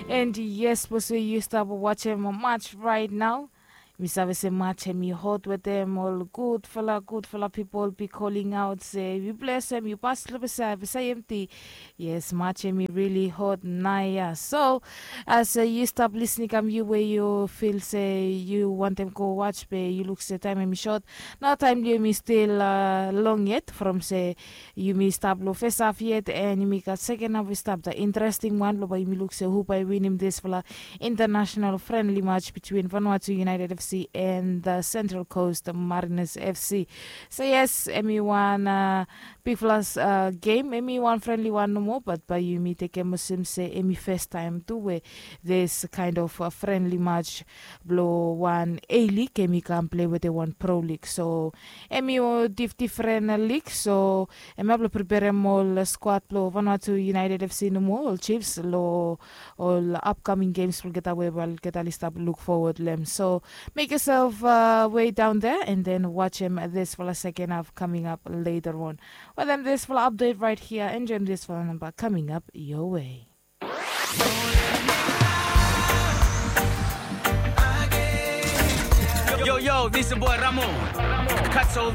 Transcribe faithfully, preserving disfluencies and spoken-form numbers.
And yes, bos we yu stap wajem match right now. Mi save se match em i hot wetem ol gudfala gudfala pipol bi koling aut se yu blesem yu pas lo besai besai emti. Yes, match em i rili hot naia so as yu stap lisning kam yu we yu fil se yu wantem go wach be yu luk se taem em i sot. Nao taem blong yumi stil long yet from se yumi stap long fes haf yet and yumi gat seken haf we stap da interesting wan blong bae yumi luk se hu bae winim disfala international frenli match between Vanuatu United FC and the Central Coast Mariners FC. So yes, em i wan bigfala gem, em i wan frenli wan nomo bat bae yumi tekem olsem se em i fes taem tu we this kind of frenli match blong wan A-League em i kam plei wetem wan Pro League. So em i difdifren lig so em ya blong preperem ol skwad blong Vanuatu United FC nomo ol Chiefs long ol upcoming games blong olgeta we bae olgeta oli stap luk fowod long em. So mek yoself wei daon dea and then wajem disfala seken haf kaming ap later on. Wetem disfala update right here, enjoem disfala namba kaming ap your way. Yo, yo, this is your boy Ramo. Katso